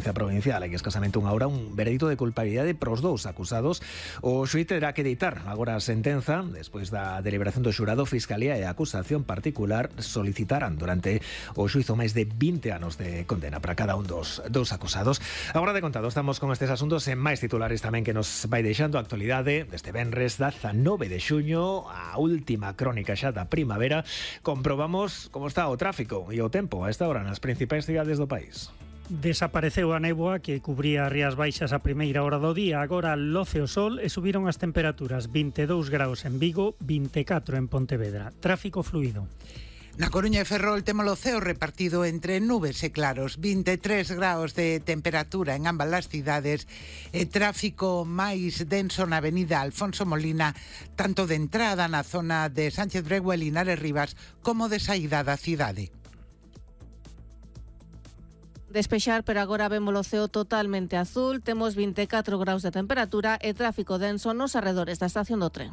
provincial. Hai escasamente unha hora un veredito de culpabilidade pros dous acusados. O xuíz terá que dictar agora a sentenza. Despois da deliberación do xurado, Fiscalía e a acusación particular solicitarán durante o xuízo máis de 20 anos de condena para cada un dos acusados. Agora de contado, estamos con estes asuntos e máis titulares tamén que nos vai deixando a actualidade deste venres 19 de xuño, a última crónica xa da primavera. Comprobamos como está o tráfico e o tempo a esta hora nas principais cidades do país. Desapareceu a néboa que cubría as Rías Baixas a primeira hora do día. Agora loce o sol e subiron as temperaturas. 22 graus en Vigo, 24 en Pontevedra. Tráfico fluido. Na Coruña e Ferrol temos o ceo repartido entre nubes e claros, 23 graus de temperatura en ambas as cidades e tráfico máis denso na avenida Alfonso Molina, tanto de entrada na zona de Sánchez Brego e Linares Rivas como de saída da cidade. Despexar, pero agora vemos o ceo totalmente azul. Temos 24 graus de temperatura e tráfico denso nos arredores da estación do tren.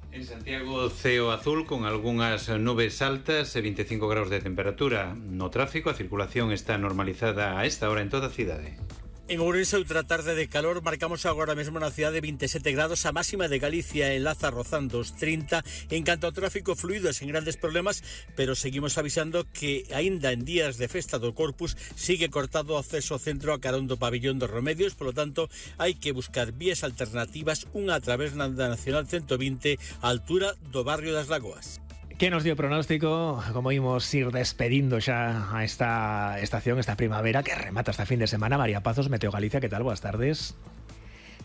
En Santiago, ceo azul con algunhas nubes altas e 25 graus de temperatura. No tráfico, a circulación está normalizada a esta hora en toda a cidade. En Ourense, outra tarde de calor, marcamos agora mesmo na cidade 27 grados, a máxima de Galicia enlaza rozando os 30. En canto ao tráfico fluido, sen grandes problemas, pero seguimos avisando que aínda en días de festa do Corpus sigue cortado o acceso ao centro a carón do pabillón dos Remedios, polo tanto, hai que buscar vías alternativas, unha a través da Nacional 120, á altura do barrio das Lagoas. Que nos dio pronóstico, como imos ir despedindo xa a esta estación, esta primavera que remata esta fin de semana. María Pazos, Meteo Galicia, que tal? Boas tardes.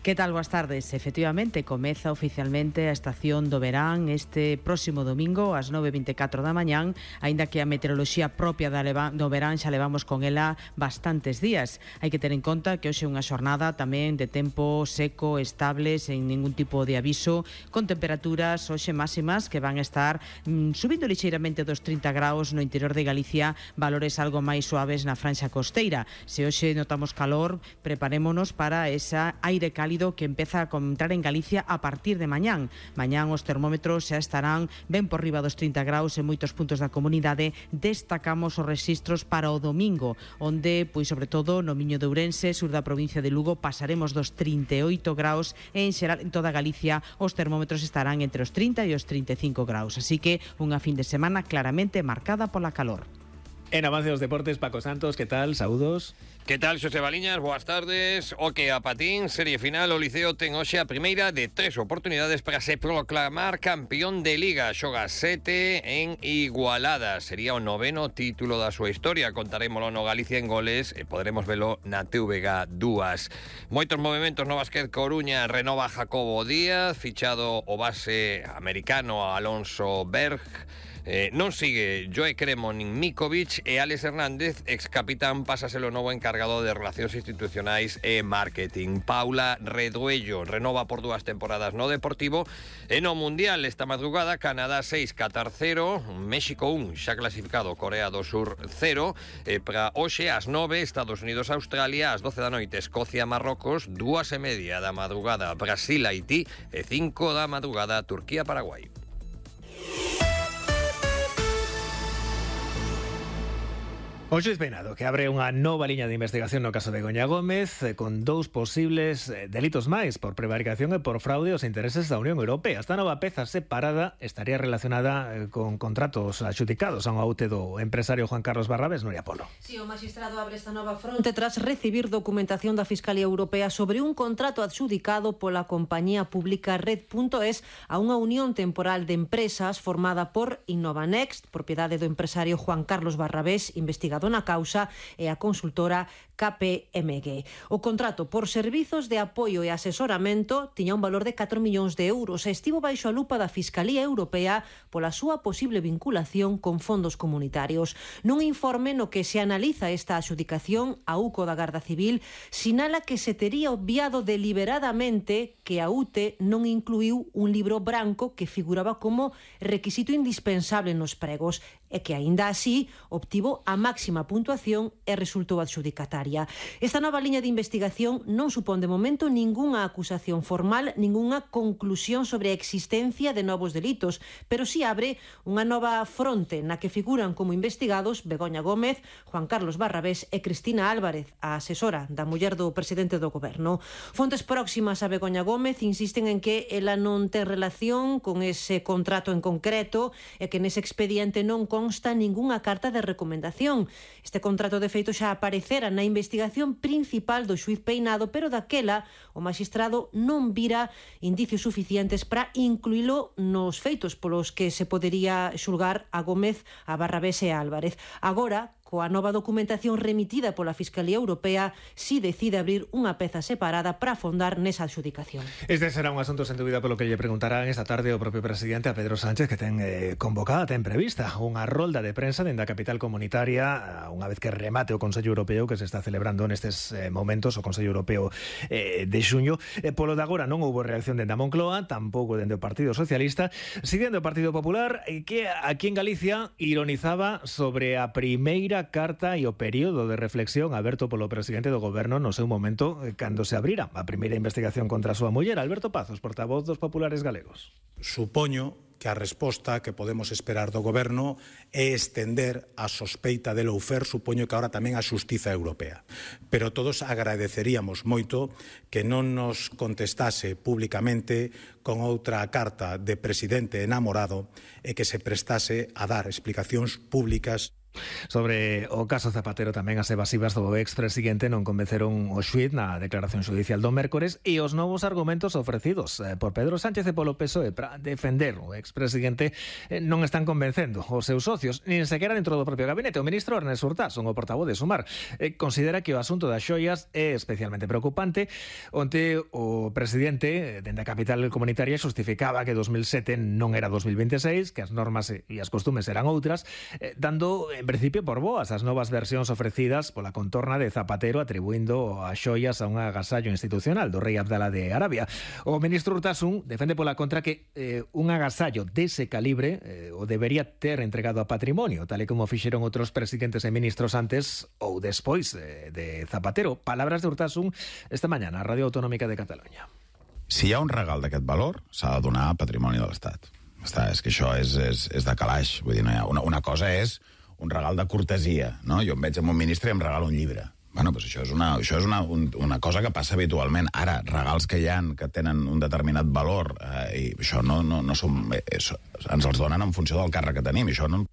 Que tal? Boas tardes. Efectivamente, comeza oficialmente a estación do verán este próximo domingo ás 9:24 da mañán, aínda que a meteoroloxía propia do verán xa levamos con ela bastantes días. Hai que ter en conta que hoxe é unha xornada tamén de tempo seco, estable, sen ningún tipo de aviso, con temperaturas hoxe máximas que van a estar subindo lixeiramente dos 30 graus no interior de Galicia, valores algo máis suaves na franxa costeira. Se hoxe notamos calor, preparémonos para esa aire cálido que empeza a entrar en Galicia a partir de mañán. Mañán os termómetros xa estarán ben por riba dos 30 graus en moitos puntos da comunidade. Destacamos os rexistros para o domingo, onde, pois sobre todo no Miño de Ourense, sur da provincia de Lugo, pasaremos dos 38 graus e en xeral en toda Galicia os termómetros estarán entre os 30 e os 35 graus. Así que unha fin de semana claramente marcada pola calor. En avance dos deportes, Paco Santos, que tal? Saúdos. Que tal, Xosé Baliñas? Boas tardes. O que a patín, serie final, o Liceo ten hoxe a primeira de 3 oportunidades para se proclamar campeón de Liga. Xoga 7 en Igualada. Sería o 9º título da súa historia. Contarémolo no Galicia en Goles e poderemos velo na TVG 2. Moitos movimentos no Básquet Coruña. Renova Jacobo Díaz, fichado o base americano Alonso Berg. Non sigue Joe Cremo nin Mikovic e Alex Hernández, ex capitán, pásaselo novo encargado de Relacións Institucionais e Marketing. Paula Reduello renova por 2 temporadas no Deportivo e no Mundial esta madrugada Canadá 6, Qatar 0, México 1, xa clasificado, Corea do Sur 0, e para hoxe ás 9 Estados Unidos Australia, ás 12 da noite Escocia Marrocos, 2:30 da madrugada Brasil Haití e 5 da madrugada Turquía Paraguai. O xuíz penado que abre unha nova liña de investigación no caso de Goña Gómez con 2 posibles delitos máis por prevaricación e por fraude aos intereses da Unión Europea. Esta nova peza separada estaría relacionada con contratos adxudicados a un aute do empresario Juan Carlos Barrabés. Nuria Polo. Si, o magistrado abre esta nova fronte tras recibir documentación da Fiscalía Europea sobre un contrato adxudicado pola compañía pública Red.es a unha unión temporal de empresas formada por Innovanext, propiedade do empresario Juan Carlos Barrabés, investigado na causa, e a consultora KPMG. O contrato por servizos de apoio e asesoramento tiña un valor de 4 millóns de euros e estivo baixo a lupa da Fiscalía Europea pola súa posible vinculación con fondos comunitarios. Nun informe no que se analiza esta adxudicación, a UCO da Garda Civil sinala que se tería obviado deliberadamente que a UTE non incluíu un libro branco que figuraba como requisito indispensable nos pregos. e que, aínda así, obtivo a máxima puntuación e resultou adxudicataria. Esta nova liña de investigación non supón de momento ningunha acusación formal, ningunha conclusión sobre a existencia de novos delitos, pero sí abre unha nova fronte na que figuran como investigados Begoña Gómez, Juan Carlos Barrabés e Cristina Álvarez, a asesora da muller do presidente do Goberno. Fontes próximas a Begoña Gómez insisten en que ela non ten relación con ese contrato en concreto e que nese expediente non consta ningunha carta de recomendación. Este contrato de feito xa aparecera na investigación principal do xuiz Peinado, pero daquela o magistrado non vira indicios suficientes para incluílo nos feitos polos que se podería xulgar a Gómez, a Barrabés e a Álvarez. Agora, coa nova documentación remitida pola Fiscalía Europea, si decide abrir unha peza separada para afondar nesa adxudicación. Este será un asunto sen dúbida polo que lle preguntarán esta tarde o propio presidente a Pedro Sánchez, que ten convocada, ten prevista unha rolda de prensa dende a capital comunitaria unha vez que remate o Consello Europeo que se está celebrando nestes momentos, o Consello Europeo de xuño. Polo de agora non houbo reacción dende a Moncloa, tampouco dende o Partido Socialista, si dende o Partido Popular, que aquí en Galicia ironizaba sobre a primeira carta e o período de reflexión aberto polo presidente do Goberno no seu momento cando se abrira a primeira investigación contra a súa muller. Alberto Pazos, portavoz dos populares galegos. Supoño que a resposta que podemos esperar do Goberno é estender a sospeita de lawfare, supoño que agora tamén a Xustiza Europea. Pero todos agradeceríamos moito que non nos contestase públicamente con outra carta de presidente enamorado e que se prestase a dar explicacións públicas. Sobre o caso Zapatero, tamén as evasivas do expresidente non convenceron o xuíz na declaración xudicial do mércores e os novos argumentos ofrecidos por Pedro Sánchez e polo PSOE para defender o expresidente non están convencendo os seus socios, nin sequera dentro do propio gabinete. O ministro Ernest Urtasun, o portavoz de Sumar, considera que o asunto das xoias é especialmente preocupante. Onte o presidente dende a capital comunitaria xustificaba que 2007 non era 2026, que as normas e as costumes eran outras, dando en principio por boas as novas versións ofrecidas pola contorna de Zapatero, atribuindo as xoias a un agasallo institucional do rei Abdala de Arabia. O ministro Urtasun defende pola contra que un agasallo dese calibre o debería ter entregado a patrimonio, tal e como fixeron outros presidentes e ministros antes ou despois de Zapatero. Palabras de Urtasun esta mañá na Radio Autonómica de Catalunya. Si hi ha un regal d'aquest valor, s'ha de donar a patrimoni de l'Estat. És que això és de calaix. Vull dir, no hi ha una cosa és un regal de cortesia, no? Jo em veig amb un ministre i em regala un llibre. Bueno, doncs això és una cosa que passa habitualment. Ara, regals que hi ha que tenen un determinat valor i això no som, ens els donen en funció del càrrec que tenim. Això no...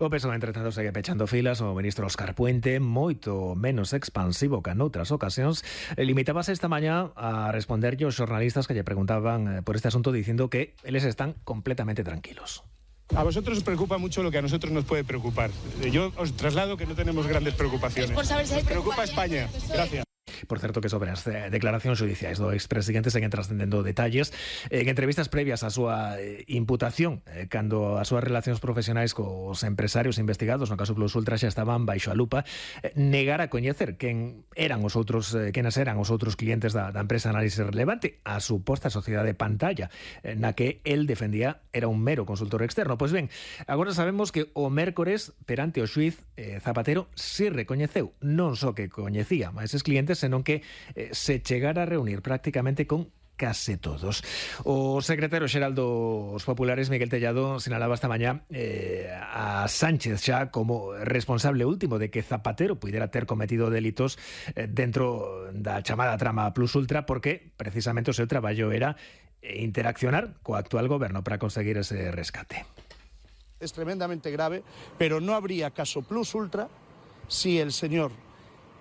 O PSOE, entre tanto, segue pechando filas. O ministro Óscar Puente, moito menos expansivo que noutras ocasións, limitábase esta mañá a responderlle aos xornalistas que lle preguntaban por este asunto, dicindo que eles están completamente tranquilos. A vosotros os preocupa mucho lo que a nosotros nos puede preocupar. Yo os traslado que no tenemos grandes preocupaciones. Nos preocupa España. Gracias. Por certo, que sobre as declaracións xudiciais do expresidente seguen trascendendo detalles. En entrevistas previas á súa imputación, cando as súas relacións profesionais cos empresarios investigados no caso Plus Ultra xa estaban baixo a lupa, negara a coñecer quenes eran os outros clientes da empresa Análisis Relevante, a suposta sociedade Pantalla, na que el defendía era un mero consultor externo. Pois ben, agora sabemos que o mércores perante o xuiz Zapatero si recoñeceu non só que coñecía a eses clientes, senón que se chegara a reunir prácticamente con case todos. O secretario xeral dos populares, Miguel Tellado, sinalaba esta mañá a Sánchez xa como responsable último de que Zapatero puidera ter cometido delitos dentro da chamada trama Plus Ultra, porque precisamente o seu traballo era interaccionar co actual goberno para conseguir ese rescate. Es tremendamente grave, pero no habría caso Plus Ultra si el señor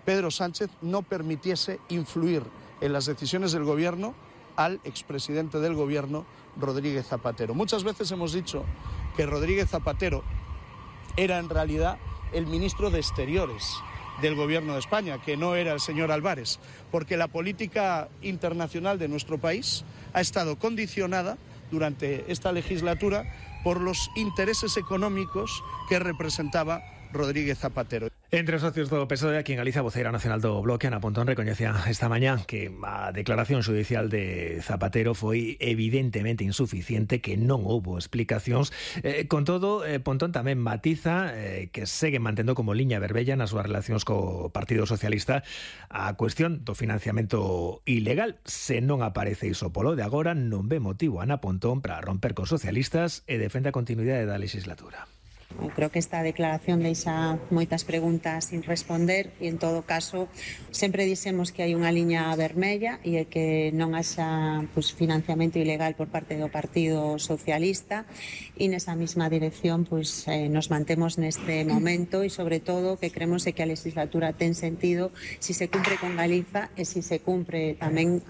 Pedro Sánchez no permitiese influir en las decisiones del gobierno al expresidente del gobierno, Rodríguez Zapatero. Muchas veces hemos dicho que Rodríguez Zapatero era en realidad el ministro de Exteriores del gobierno de España, que no era el señor Álvarez, porque la política internacional de nuestro país ha estado condicionada durante esta legislatura por los intereses económicos que representaba Rodríguez Zapatero. Entre os socios do PSOE, aquí en Galicia, a voceira nacional do Bloque, Ana Pontón, recoñecía esta mañá que a declaración xudicial de Zapatero foi evidentemente insuficiente, que non houbo explicacións. Con todo, Pontón tamén matiza que segue mantendo como liña vermella nas súas relacións co Partido Socialista a cuestión do financiamento ilegal. Se non aparece iso polo de agora, non ve motivo Ana Pontón para romper cos socialistas e defende a continuidade da legislatura. Creo que esta declaración deixa moitas preguntas sin responder e, en todo caso, sempre dixemos que hai unha liña vermella e que non haxa financiamento ilegal por parte do Partido Socialista, e nesa mesma dirección nos mantemos neste momento, e sobre todo que creemos que a legislatura ten sentido si se cumpre con Galiza e si se cumpre tamén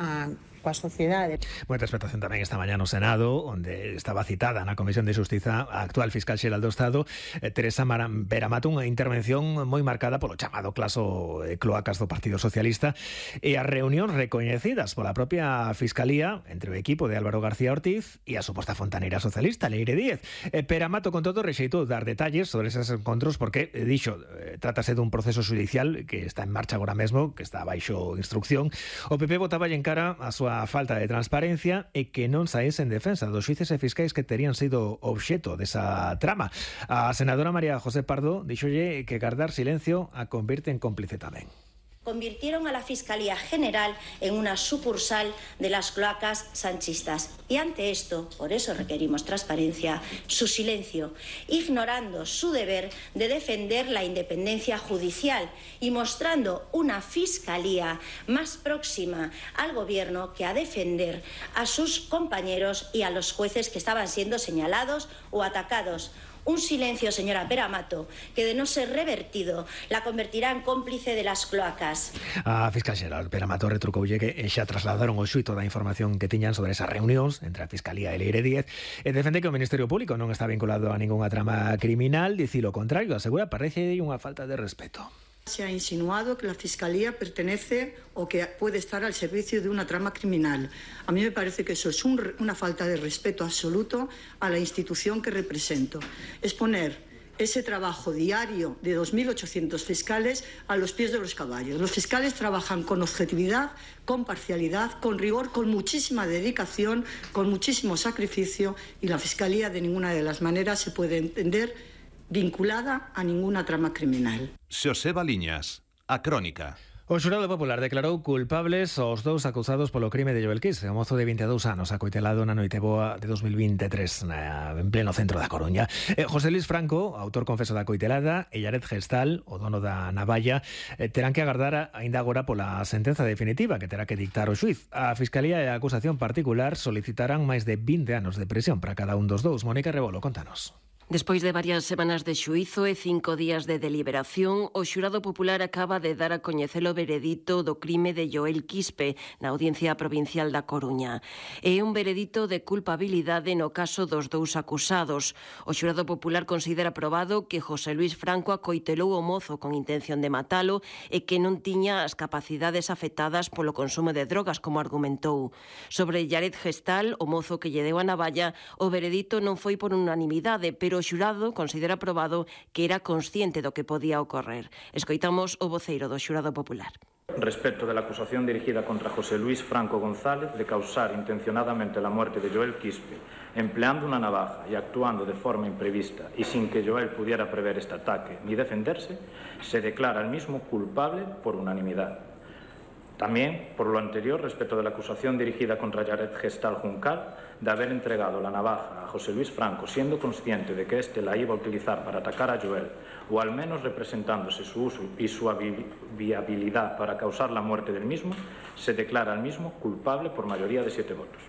coa sociedade. Moita expectación tamén esta mañá no Senado, onde estaba citada na Comisión de Xustiza a actual fiscal xeral do Estado, Teresa Beramato, unha intervención moi marcada polo chamado caso cloacas do Partido Socialista e as reunións recoñecidas pola propia Fiscalía entre o equipo de Álvaro García Ortiz e a suposta fontaneira socialista, Leire Díez. Beramato, con todo, rexeitou dar detalles sobre eses encontros porque, dixo, trátase dun proceso judicial que está en marcha agora mesmo, que está baixo instrucción. O PP botaba en cara a súa falta de transparencia e que non saíse en defensa dos xuíces e fiscais que terían sido obxeto desa trama. A senadora María José Pardo dixolle que guardar silencio a convirte en cómplice tamén. Convirtieron a la Fiscalía General en una sucursal de las cloacas sanchistas. Y ante esto, por eso requerimos transparencia, su silencio, ignorando su deber de defender la independencia judicial y mostrando una Fiscalía más próxima al Gobierno que a defender a sus compañeros y a los jueces que estaban siendo señalados o atacados. Un silencio, señora Beramato, que de no ser revertido la convertirá en cómplice de las cloacas. A fiscal xeral Beramato retrucoulle que xa trasladaron o xuito da información que tiñan sobre esas reunións entre a Fiscalía e Leire Díez e defende que o Ministerio Público non está vinculado a ningunha trama criminal. Dicir o contrario, asegura, parece unha falta de respeto. Se ha insinuado que la Fiscalía pertenece o que puede estar al servicio de una trama criminal. A mí me parece que eso es una falta de respeto absoluto a la institución que represento. Es poner ese trabajo diario de 2.800 fiscales a los pies de los caballos. Los fiscales trabajan con objetividad, con parcialidad, con rigor, con muchísima dedicación, con muchísimo sacrificio, y la Fiscalía de ninguna de las maneras se puede entender vinculada a ninguna trama criminal. Xoseba Liñas, a Crónica. O xurado popular declarou culpables os dous acusados polo crime de Joel Quispe, o mozo de 22 anos acoitelado na Noiteboa de 2023 en pleno centro da Coruña. José Luis Franco, autor confeso da coitelada, e Yared Gestal, o dono da navalla, terán que agardar aínda agora pola sentenza definitiva que terá que dictar o xuiz. A Fiscalía e a acusación particular solicitarán máis de 20 anos de prisión para cada un dos dous. Mónica Rebolo, contanos. Despois de varias semanas de xuízo e 5 días de deliberación, o xurado popular acaba de dar a coñecer o veredito do crime de Joel Quispe na Audiencia Provincial da Coruña. É un veredito de culpabilidade no caso dos dous acusados. O xurado popular considera probado que José Luis Franco acoitelou o mozo con intención de matalo e que non tiña as capacidades afectadas polo consumo de drogas, como argumentou. Sobre Yared Gestal, o mozo que lle deu a navalla, o veredito non foi por unanimidade, pero o xurado considera probado que era consciente do que podía ocorrer. Escoitamos o voceiro do xurado popular. Respecto de la acusación dirigida contra José Luis Franco González de causar intencionadamente la muerte de Joel Quispe, empleando una navaja y actuando de forma imprevista y sin que Joel pudiera prever este ataque ni defenderse, se declara al mismo culpable por unanimidad. También, por lo anterior, respecto de la acusación dirigida contra Yared Gestal Juncal de haber entregado la navaja a José Luis Franco siendo consciente de que éste la iba a utilizar para atacar a Joel, o al menos representándose su uso y su viabilidad para causar la muerte del mismo, se declara al mismo culpable por mayoría de 7 votos.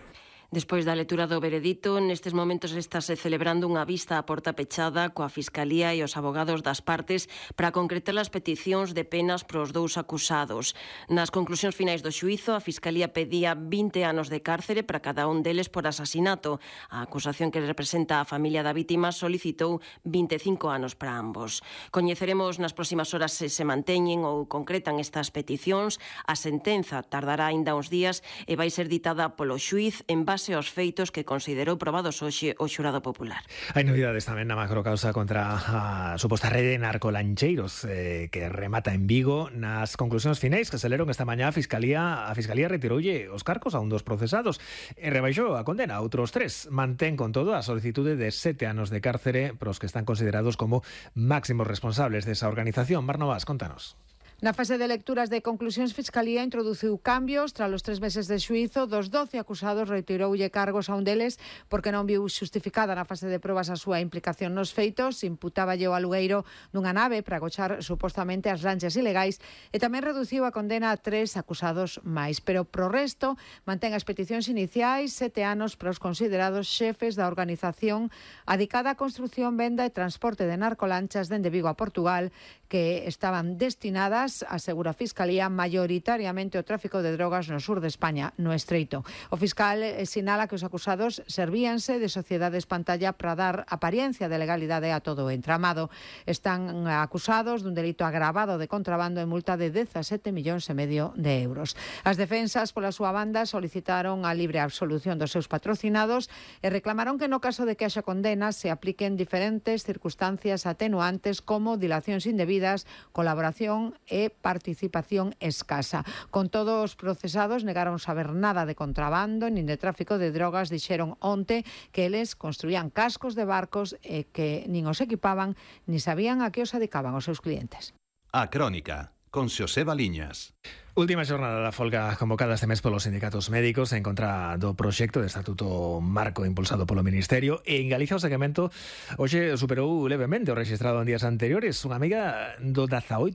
Despois da lectura do veredito, nestes momentos estáse celebrando unha vista a porta pechada coa Fiscalía e os abogados das partes para concretar as peticións de penas pros dous acusados. Nas conclusións finais do xuízo, a Fiscalía pedía 20 anos de cárcere para cada un deles por asasinato. A acusación que representa a familia da vítima solicitou 25 anos para ambos. Coñeceremos nas próximas horas se se manteñen ou concretan estas peticións. A sentenza tardará aínda uns días e vai ser ditada polo xuiz en base base aos feitos que considerou probados hoxe o xurado popular. Hai novidades tamén na macrocausa contra a suposta rede de narcolancheiros que remata en Vigo. Nas conclusións finais que se leron esta mañá, a Fiscalía retiroulle os cargos a un dos procesados e rebaixou a condena a outros 3. Mantén con todo a solicitude de 7 anos de cárcere para os que están considerados como máximos responsables desa organización. Barnabás, contanos. Na fase de lecturas de conclusións, Fiscalía introduciu cambios tras os 3 meses de xuízo. Dos 12 acusados retiroulle cargos a un deles porque non viu xustificada na fase de probas a súa implicación nos feitos. Imputáballe o alugueiro dunha nave para agochar supostamente as lanchas ilegais e tamén reduciu a condena a 3 acusados máis. Pero pro resto mantén as peticións iniciais, 7 anos para os considerados xefes da organización adicada á construción, venda e transporte de narcolanchas dende Vigo a Portugal, que estaban destinadas, asegura a Fiscalía, maioritariamente o tráfico de drogas no sur de España, no Estreito. O fiscal sinala que os acusados servíanse de sociedades pantalla para dar apariencia de legalidade a todo o entramado. Están acusados dun delito agravado de contrabando e multa de 17,5 millóns de euros. As defensas, pola súa banda, solicitaron a libre absolución dos seus patrocinados e reclamaron que no caso de que haxa condenas se apliquen diferentes circunstancias atenuantes como dilacións indebidas, colaboración e participación escasa. Con todos os procesados negaron saber nada de contrabando nin de tráfico de drogas. Dixeron onte que eles construían cascos de barcos e que nin os equipaban ni sabían a que os dedicaban os seus clientes. A Crónica, con Xoseba Liñas. Última xornada da folga convocada este mes polos sindicatos médicos en contra do proxecto de estatuto marco impulsado polo Ministerio, e en Galicia o seguimento hoxe superou levemente o registrado en días anteriores, unha miga do 18%.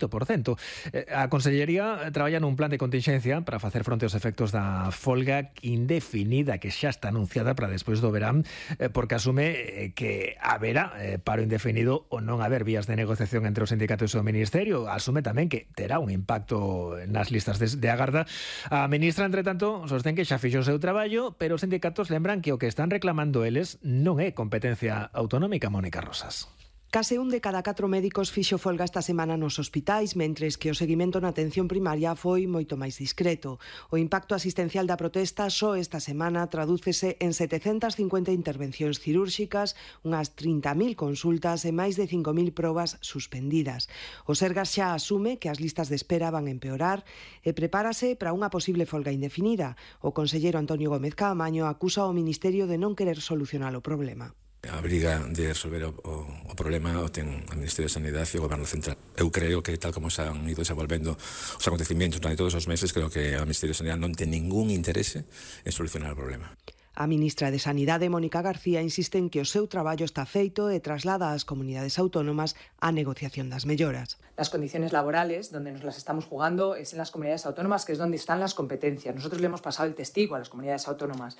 A Consellería traballa nun plan de contingencia para facer fronte aos efectos da folga indefinida que xa está anunciada para despois do verán, porque asume que haberá paro indefinido ou non haber vías de negociación entre os sindicatos e o Ministerio. Asume tamén que terá un impacto nas listas de agarda. A ministra, entre tanto, sostén que xa fixo o seu traballo, pero os sindicatos lembran que o que están reclamando eles non é competencia autonómica. Mónica Rosas. Case un de cada 4 médicos fixo folga esta semana nos hospitais, mentres que o seguimento na atención primaria foi moito máis discreto. O impacto asistencial da protesta só esta semana tradúcese en 750 intervencións cirúrxicas, unhas 30.000 consultas e máis de 5.000 probas suspendidas. O Sergas xa asume que as listas de espera van empeorar e prepárase para unha posible folga indefinida. O conselleiro Antonio Gómez Caamaño acusa ao Ministerio de non querer solucionar o problema. A briga de resolver o problema o ten o Ministerio de Sanidade e o Goberno Central. Eu creo que tal como se han ido desenvolvendo os acontecimientos durante todos os meses, creo que o Ministerio de Sanidade non ten ningún interese en solucionar o problema. A ministra de Sanidade, Mónica García, insiste en que o seu traballo está feito e traslada ás comunidades autónomas a negociación das melloras. Las condiciones laborales, donde nos las estamos jugando, es en las comunidades autónomas, que es donde están las competencias. Nosotros le hemos pasado el testigo a las comunidades autónomas.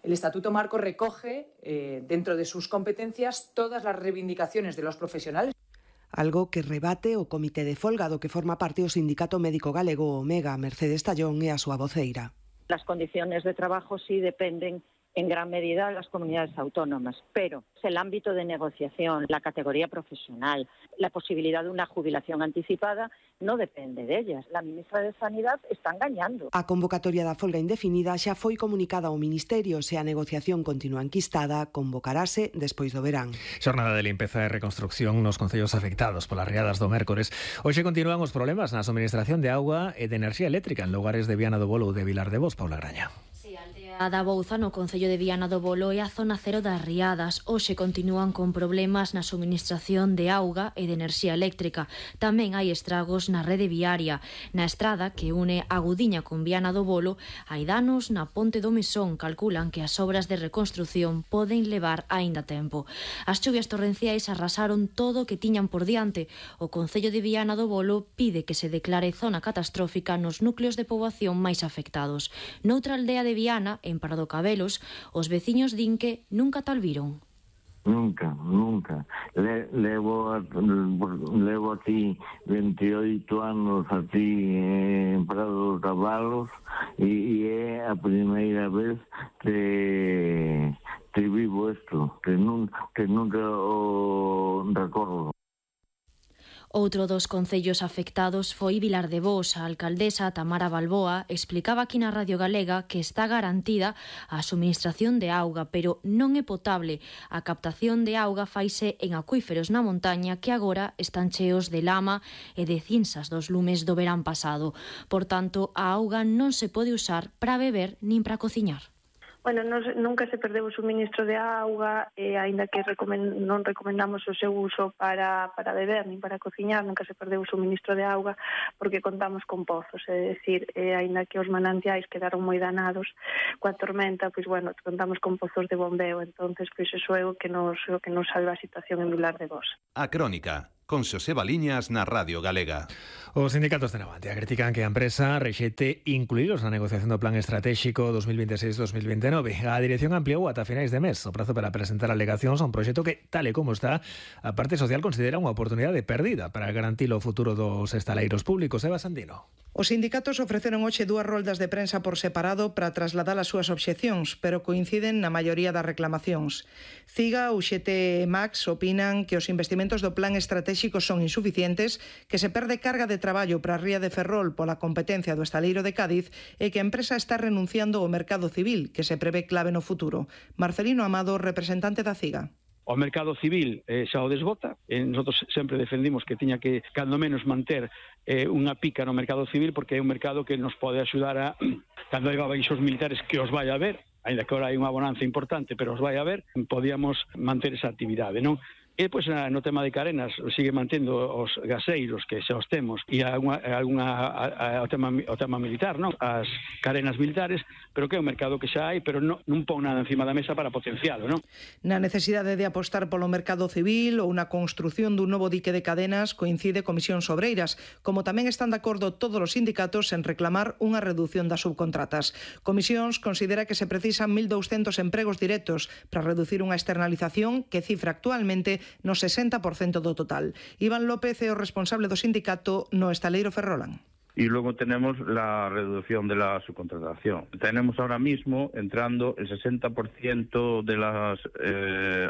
El Estatuto Marco recoge, dentro de sus competencias, todas las reivindicaciones de los profesionales. Algo que rebate o Comité de Folga do que forma parte o Sindicato Médico Galego, Omega, Mercedes Tallón e a súa voceira. Las condiciones de trabajo sí dependen en gran medida las comunidades autónomas, pero el ámbito de negociación, la categoría profesional, la posibilidad de una jubilación anticipada no depende de ellas. La ministra de Sanidad está engañando. A convocatoria da folga indefinida xa foi comunicada ao Ministerio. Se a negociación continúa enquistada, convocarase despois do verán. Xornada de limpeza e reconstrucción nos concellos afectados polas riadas do mércores. Hoxe continúan os problemas na suministración de auga e de enerxía eléctrica en lugares de Viana do Bolo ou de Vilar de Bos. Paula Graña. A da Bouza, no concello de Viana do Bolo, é a zona cero das riadas. Hoxe continúan con problemas na suministración de auga e de enerxía eléctrica. Tamén hai estragos na rede viaria. Na estrada que une a Gudiña con Viana do Bolo, hai danos na Ponte do Mesón. Calculan que as obras de reconstrución poden levar aínda tempo. As chuvias torrenciais arrasaron todo o que tiñan por diante. O concello de Viana do Bolo pide que se declare zona catastrófica nos núcleos de poboación máis afectados. Noutra aldea de Viana, en Parado Cabelos, os veciños din que nunca tal viron. Nunca. Levo aquí 28 anos aquí en Parado Cabelos e é a primeira vez que vivo isto, que nunca o recordo. Outro dos concellos afectados foi Vilar de Bos. A alcaldesa Tamara Balboa explicaba aquí na Radio Galega que está garantida a suministración de auga, pero non é potable. A captación de auga faise en acuíferos na montaña que agora están cheos de lama e de cinzas dos lumes do verán pasado. Por tanto, a auga non se pode usar para beber nin para cociñar. Bueno, nunca se perdeu o suministro de auga, aínda que non recomendamos o seu uso para beber nin para cociñar, nunca se perdeu o suministro de auga porque contamos con pozos, é dicir, aínda que os manantiais quedaron moi danados coa tormenta, pois bueno, contamos con pozos de bombeo, entonces pois iso é o que nos salva a situación en Vilar de Bos. A Crónica, con Xoseba Liñas na Radio Galega. Os sindicatos de Navantia critican que a empresa rexete incluíros na negociación do Plan Estratégico 2026-2029. A dirección ampliou ata finais de mes o prazo para presentar alegacións a un proxecto que, tal e como está, a parte social considera unha oportunidade perdida para garantir o futuro dos estaleiros públicos. Eva Sandino. Os sindicatos ofreceron hoxe 2 roldas de prensa por separado para trasladar as súas obxeccións, pero coinciden na maioría das reclamacións. CIGA, UGT e Max opinan que os investimentos do Plan Estratégico son insuficientes, que se perde carga de traballo para a ría de Ferrol pola competencia do estaleiro de Cádiz e que a empresa está renunciando ao mercado civil, que se prevé clave no futuro. Marcelino Amado, representante da CIGA. O mercado civil xa o desbota. Nosotros sempre defendimos que tiña que, cando menos, manter unha pica no mercado civil, porque é un mercado que nos pode axudar a, cando hai baixos militares, que os vai a haber, ainda que agora hai unha bonanza importante, pero os vai a haber, podíamos manter esa actividade, non? E, pois, no tema de carenas, sigue mantendo os gaseiros que xa os temos e o tema militar, non? As carenas militares, pero que é un mercado que xa hai, pero non pon nada encima da mesa para potencialo, non? Na necesidade de apostar polo mercado civil ou na construción dun novo dique de cadenas coincide Comisións Obreiras, como tamén están de acordo todos os sindicatos en reclamar unha reducción das subcontratas. Comisións considera que se precisan 1.200 empregos directos para reducir unha externalización que cifra actualmente no 60% do total. Iván López é o responsable do sindicato no estaleiro Ferrolán. Y luego tenemos la reducción de la subcontratación. Tenemos ahora mismo entrando el 60% de las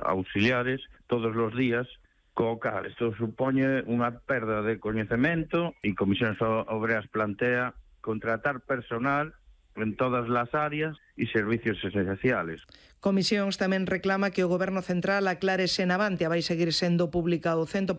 auxiliares todos los días, co cal isto supone unha perda de coñecemento e Comisións Obreras plantea contratar personal en todas las áreas e servicios esenciales. Comisións tamén reclama que o Goberno Central aclare se Navantia vai seguir sendo pública ao 100%,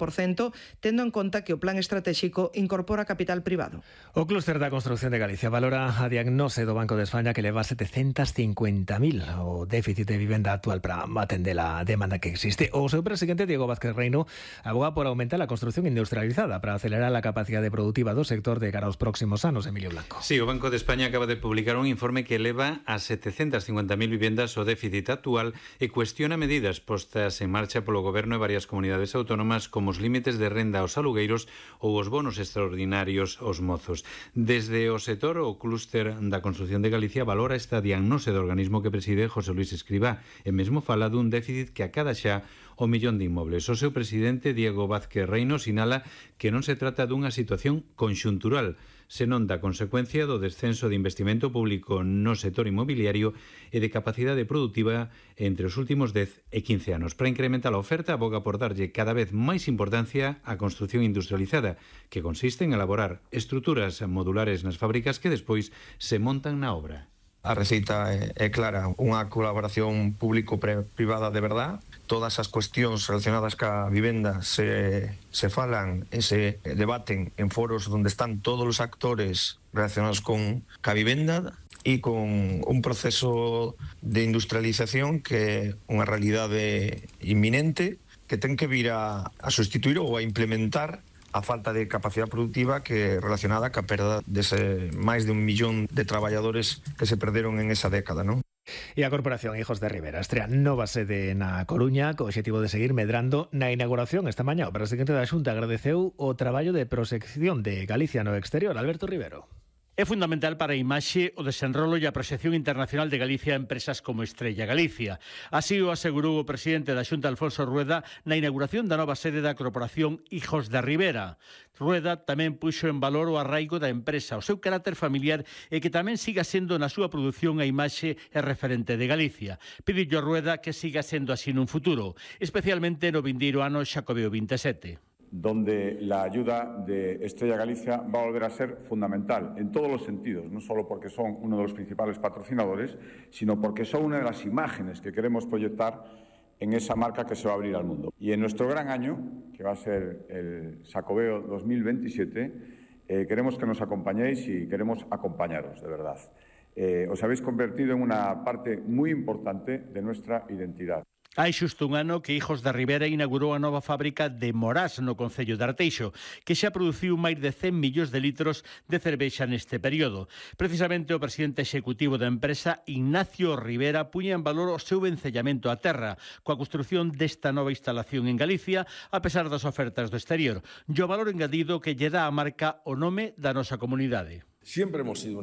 tendo en conta que o plan estratégico incorpora capital privado. O clúster da construción de Galicia valora a diagnose do Banco de España que leva 750.000 o déficit de vivenda actual para atender a demanda que existe. O seu presidente, Diego Vázquez Reino, aboga por aumentar a construción industrializada para acelerar a capacidade productiva do sector de cara aos próximos anos. Emilio Blanco. Sí, o Banco de España acaba de publicar un informe que eleva a 750.000 vivendas o déficit actual e cuestiona medidas postas en marcha polo Goberno e varias comunidades autónomas como os límites de renda aos alugueiros ou os bonos extraordinarios aos mozos. Desde o sector, o clúster da construción de Galicia valora esta diagnose do organismo que preside José Luis Escribá e mesmo fala dun déficit que acada xa o millón de inmobles. O seu presidente, Diego Vázquez Reino, sinala que non se trata dunha situación conxuntural, senón da consecuencia do descenso de investimento público no sector inmobiliario e de capacidade productiva entre os últimos 10 e 15 anos. Para incrementar a oferta, aboga por darlle cada vez máis importancia á construción industrializada, que consiste en elaborar estruturas modulares nas fábricas que despois se montan na obra. A receita é clara, unha colaboración público-privada de verdad. Todas as cuestións relacionadas ca vivenda se falan e se debaten en foros onde están todos os actores relacionados con ca vivenda e con un proceso de industrialización que é unha realidade inminente que ten que vir a sustituir ou a implementar a falta de capacidade productiva que é relacionada ca perda dese máis de 1 millón de traballadores que se perderon en esa década, non? E a Corporación Hijos de Rivera estrea nova sede na Coruña co obxectivo de seguir medrando na inauguración esta mañá. O presidente da Xunta agradeceu o traballo de proxección de Galicia no exterior. Alberto Rivero. É fundamental para a imaxe o desenrolo e a proxección internacional de Galicia a empresas como Estrella Galicia. Así o asegurou o presidente da Xunta, Alfonso Rueda, na inauguración da nova sede da Corporación Hijos de Rivera. Rueda tamén puxo en valor o arraigo da empresa, o seu carácter familiar e que tamén siga sendo na súa produción a imaxe e referente de Galicia. Pidillo Rueda que siga sendo así nun futuro, especialmente no vindeiro ano Xacobeo 27. donde la ayuda de Estrella Galicia va a volver a ser fundamental en todos los sentidos, no solo porque son uno de los principales patrocinadores, sino porque son una de las imágenes que queremos proyectar en esa marca que se va a abrir al mundo. Y en nuestro gran año, que va a ser el Xacobeo 2027, queremos que nos acompañéis y queremos acompañaros, de verdad. Os habéis convertido en una parte muy importante de nuestra identidad. Hai xusto un ano que Hijos da Ribera inaugurou a nova fábrica de Morás no concello de Arteixo, que xa produciu máis de 100 millóns de litros de cervexa neste período. Precisamente o presidente executivo da empresa, Ignacio Rivera, puña en valor o seu vencellamento á terra coa construción desta nova instalación en Galicia, a pesar das ofertas do exterior. E o valor engadido que lle dá a marca o nome da nosa comunidade. Siempre hemos sido